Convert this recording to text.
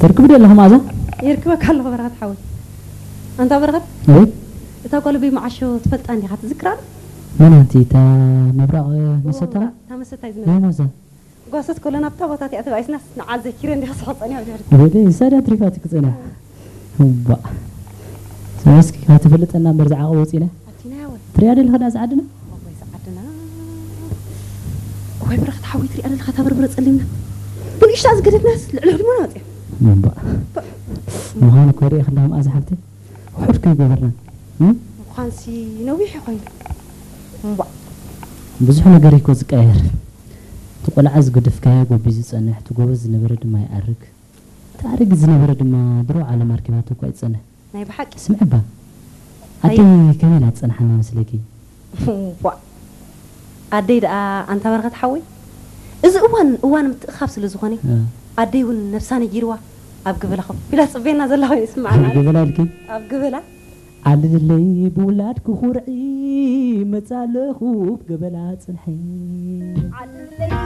ትርክብ ዶ ኣለኹ መኣዛ? ይርክበካ ኣለኹ በረኸት ሓወይ። ኣንታ በረኸት፣ ወይ? እታ ጓል በይ መዓሾ ትፈልጣ እንዲኻ፣ ትዝክራ ዶ? መን ኣንቲ? እታ ምብራቕ መሰታ? እታ መሰታ እዩ ወይ ዝነበረ። መዛ? ጓሶት ኮለና ኣብታ ቦታ እቲኣ ተባኢስና ንዓል ዘኪረ እንዲኻ ስሖ ጸኒሖ ጀርዲ። ወደ ይሳዳ ትሪፋ ትክጸና። እባ። ሰመስኪ ካብ ትፈልጠና እምበር ዝዓቐ ወፂና። ኣቲና ያወ። ትሪያ ደለኻ ዳ ዝዓድና? ወይ ዝዓድና። ወይ በረኸት ሓወይ፣ ትሪኣ ደለኻ እታ በርበረ ጸሊምና። ብንእሽታ ዝገደፍናስ ልዕሊ ህድሞና ወፂያ። እባ። ምዃኑ እኮ ሪኢኽ እንዳ መኣዛ ሓብቲ። ውሑድ ከይገበርና። እም? ምዃንሲ ነዊሕ ኮይኑ። እምባ። ብዙሕ ነገር እኮ ዝቀየር። እቲ ቆልዓ ዝገደፍካዮ ጎቢዙ ዝጸንሕ፣ እቲ ጎበዝ ዝነበረ ድማ ይኣርግ። እቲ ኣረጊት ዝነበረ ድማ ድሮ ዓለም ኣርኪባቶ እኳ ይጸንሕ። ናይ ብሓቂ። ስምዕባ። ኣይ- ኣደይ ከመይ ኢላ ትጸንሓና መስለኪ? ዋ። ኣደይ ደኣ ኣንታ በረኸት ሓወይ፣ እዚ እዋን እዋን ምትእኻብ ስለ ዝኾነ፣ እ። ኣደይ እውን ነብሳ ነጊርዋ ኣብ ገበላ ኮፍ ኢላ ትጽበየና ዘላ ኮይኑ ይስምዓና። ኣብ ገበላ ኢልኪ? ኣብ ገበላ። ዓልለይ ብውላድ ክኹርዒ፣ መጻለኹ ኣብ ገበላ ጽንሐ።